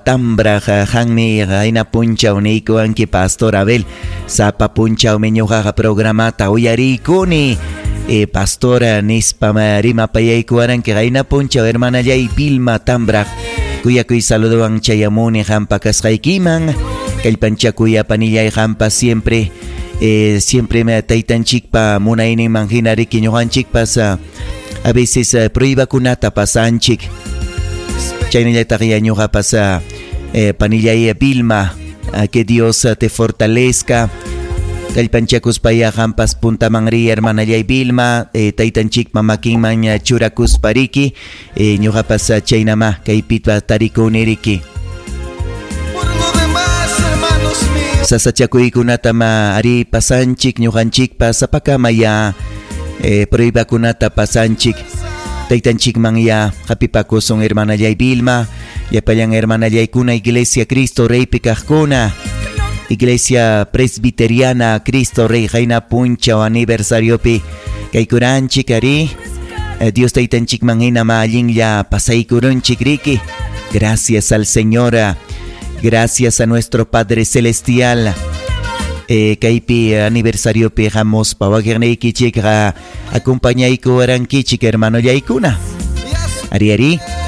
Tambraq qanmi qayna punchaw niykuwanki, Pastor Abel. Sapa punchawmi ñuqaqa programata uyariykuni. Pastora nispa rimapayaykuwaranki qayna punchaw, hermanallay Vilma Tambraq. Kuyakuy saludowan chayamuni qampa kasqaykiman. Kallpanchakuy, panillay, qampa siempre siempre taytanchikpa munayninman hina riki ñuqanchikpas a veces pruebakunata pasanchik. Chaynallataq ya ñuqapas, panillay Vilma, que Dios te fortalezca. Kallpanchakuspaya qampas puntaman riy, hermanallay Vilma, taytanchikpa makinman churakuspa riki, ñuqapas chaynama kaypipa tarikuni riki. Por lo demás, hermanos míos. Sasachakuykunatama ari pasanchik ñuqanchikpas sapakama ya pruebakunata pasanchik. Taytanchikman ya hapipakusun, hermanallay Vilma, llapallan hermanallaykuna Iglesia Cristo Reypi kaqkuna. Iglesia Presbiteriana Cristo Rey qayna punchaw aniversariopi kaykuranchik ari. Dios taytanchikman hina ma allinlla pasaykurunchik riki. Gracias al Señor. Gracias a nuestro Padre Celestial. Kaypi aniversariopi hamuspa wakiqniykichikqa acompañaykuwarankichik, hermanollaykuna. Ari ari.